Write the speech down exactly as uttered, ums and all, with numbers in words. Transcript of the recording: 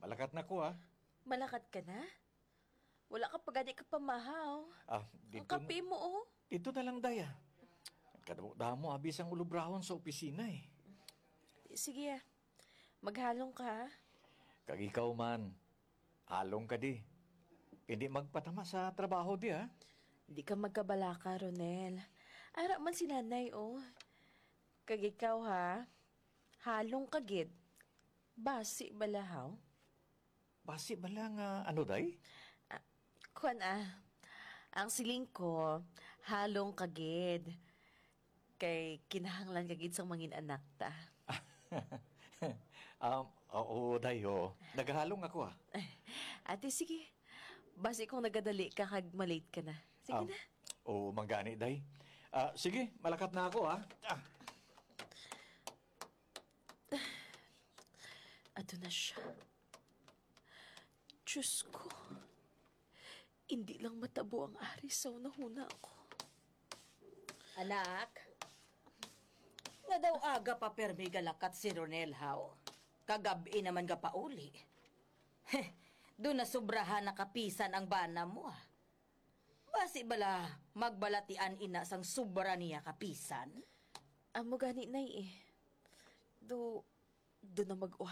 Malakat na ko, ah. Malakat ka na? Wala ka pa gani ka pamahaw. Ah, Ang dito na, kape mo, oh. Dito na lang, day, ah. Kadamo-damo, abi sang ulubrahon sa opisina, eh. Sige, ah. Maghalong ka, ha? Kag ikaw man, halong ka di. Hindi magpatama sa trabaho di, ha? Di ka magkabalaka, Ronel. Ara man si nanay, oh. Kag ikaw, ha? Halong ka gid. Basi bala, haw? Basi bala nga ano, day? Ah, kuwan, ah. Ang siling ko, halong ka gid. Kay kinahanglan ka gid sang mangin anak ta. Um, oo, day, oo. Nagahalong ako, ah. Ate, sige. Basi kung nagadali ka kag malate ka na. Sige Um, na. Oo, manggani, day. Ah, sige, malakat na ako, ah. Ah. Ato na siya. Diyos ko. Hindi lang matabo ang ari sa hunahuna ko. Anak, nga daw aga pa permi galakat si Ronel, haw? Kagab-i naman gapauli. Heh, do na sobrahan na kapisan ang bana mo, ah. Basi bala magbalatian ina sang sobra niya kapisan? Amo gani, Nay, eh. Do, do na mag-uha